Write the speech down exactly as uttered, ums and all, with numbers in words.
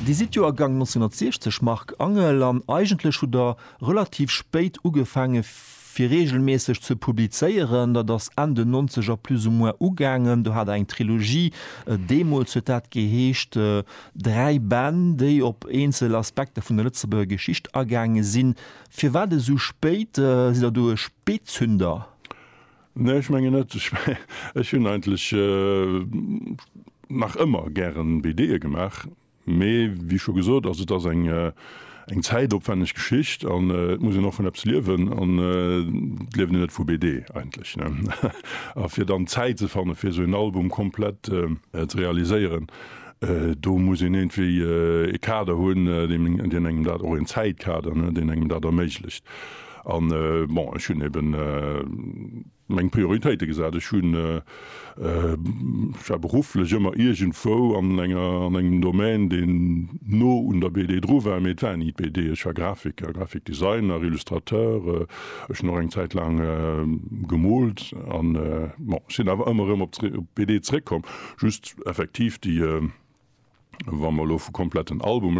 Dir sidd Joergang nonzénhunnertsiechzeg, Marc Angel, an eigentlech hutt Der relativ spéit ugefaange fir reegelméisseg ze publizéieren. Dat ass Enn den Nonzeger plus ou moins ugaangen. Do hat Der eng Trilogie, deemools huet dat geheescht, dräi Bänn, déi op eenzel Aspekter vun der Lëtzebuerger Geschicht agaange sinn. Firwat esou spéit? Sidd Der do e Spéitzünder? Nee, ech mengen net. Ech hunn eigentlech nach ëmmer gären B D'e gemaach, mee wéi scho gesot, also et ass eng eng zäitopwänneg Geschicht an et muss een och vun eppes liewen an et lieft een net vu B D eigentlech, ne. A fir dann Zäit ze fanne fir esou en Album komplett ze realiséieren, do muss een iergendwéi e Kader hunn, deen deen engem dat, och en Zäitkader, ne, deen engem dat erméiglecht. An bon, ech hunn eben meng Prioritéite gesat. Ech hunn, ech war berufflech ëmmer iergendwou an enger, an engem Domaine, deen no un der B D dru war, mee et war ni d'B D. Ech war Grafiker, Grafikdesigner, Illustrateur, ech hunn och eng Zäit laang gemoolt an bon, ech sinn awer ëmmer erëm op d'B D zréckkomm. Just effektiv déi, wa mer elo vu kompletten Albume